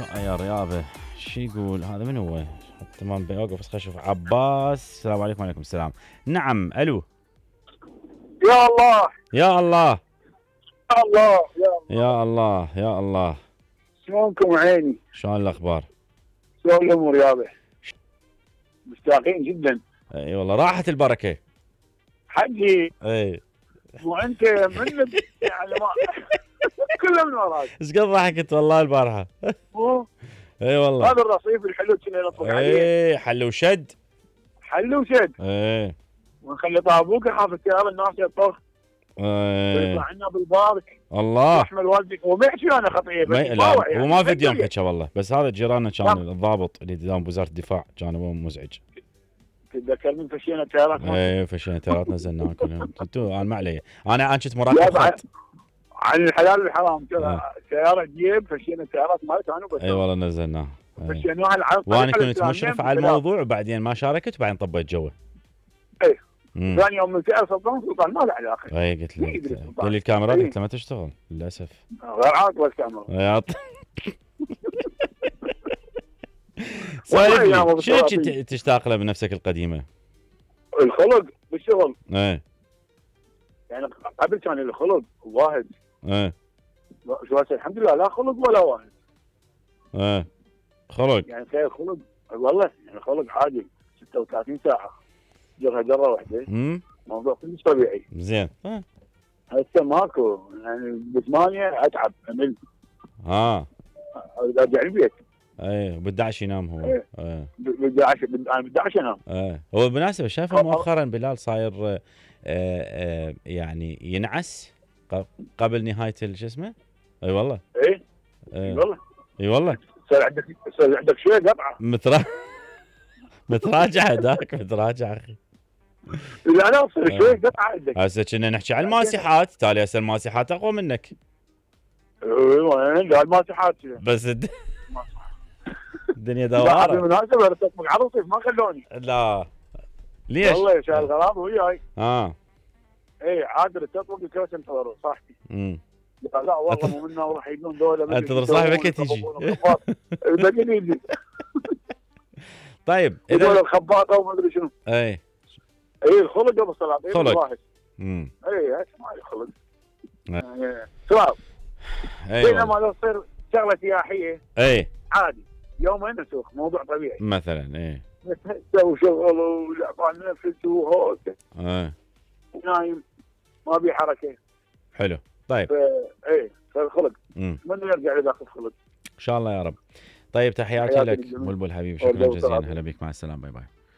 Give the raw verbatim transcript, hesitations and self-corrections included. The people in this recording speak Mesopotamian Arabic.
يا رياضه شو يقول هذا؟ من هو؟ تمام بيوقف بس خلينا نشوف. عباس السلام عليكم. وعليكم السلام. نعم الو. يا الله يا الله يا الله يا الله يا الله. شلونكم عيني؟ شلون الاخبار؟ شلون الامور يابا؟ مشتاقين جدا. اي والله راحت البركه حجي. اي وانت من يعني ما كله من وراك. ايش قد ضحكت والله البارحه. اي والله هذا الرصيف الحلو كنا نطبق عليه. اي حل وشد. حل وشد. اي ونخلي طابوق يحافظ السياره الناس يطبخ. اي ويطلع عنا بالبارك. الله يحمل والدك وما يحكي انا خطيه بس لا يعني. وما في يوم حكى والله. بس هذا جيراننا كان الضابط اللي قدام وزاره الدفاع كان هو مزعج. تتذكر من فشينا التيارات؟ اي فشينا التيارات نزلناها كلهم. انتوا انا ما علي. انا انا كنت مراقب خط. عن الحلال والحرام كذا سياره تجيب فشينا التيارات مالتها انا بس. اي والله نزلناها. فشيناها العرض. وانا كنت مشرف على الموضوع وبعدين ما شاركت وبعدين طبيت جوه. اي ثاني يوم من سأل سلطان سلطان ما له علاقه. اي قلت له قال لي الكاميرا قلت له ما تشتغل للاسف. غير عاطله الكاميرا. سالفني شنو كنت تشتاق له بنفسك القديمه؟ الخلق بالشغل. ايه يعني قبل كان الخلق واحد. ايه شو هسه الحمد لله لا خلق ولا واحد. ايه خلق يعني خير خلق والله. يعني خلق عادي ستة وثلاثين ساعه جرها جره واحده. امم موضوع كلش طبيعي. زين. اه هسه ماكو. يعني بثمانية اتعب امل. اه ارجع البيت. ايه بالدعش ينام هو. ايه ايه بالدعش انا بالدعش انام. ايه هو بالمناسبه شايفه مؤخرا بلال صاير آه آه يعني ينعس قبل نهايه شو اسمه. اي والله. ايه اي والله. اي والله. صار عندك صار عندك شويه قطعه. مترا متراجع هذاك متراجع اخي. لا لا صار شويه قطعه عندك. هسه كنا نحكي عن الماسحات. تالي هسه الماسحات اقوى منك. ايوه لا الماسحات بس الد... الدنيا دواره. بالمناسبه ارتبط على الرصيف ما خلوني. لا ليش؟ والله شايل غرام وياي. اه ايه عادل التطبق الكاس انتظر صاحبي. امم لا والله مو منا وراح يجون ذولا. انتظر صاحبك تجي. باقي يجي. طيب اذا الخباطه وما ادري شنو. اي اي الخلق ابو الصلاه. خلق. امم اي ما خلق. سؤال. اي بينما لو تصير شغله سياحيه. اي عادي يومين نسوق موضوع طبيعي. مثلا اي تسوي شغل ولعبان نفس وهوك. اي نايم ما بي حركه. حلو. طيب ايه فالخلق من يرجع لداخل الخلق ان شاء الله يا رب. طيب تحياتي لك بلبل حبيبي. شكرا جزيلا. هلا بك. مع السلامه. باي باي.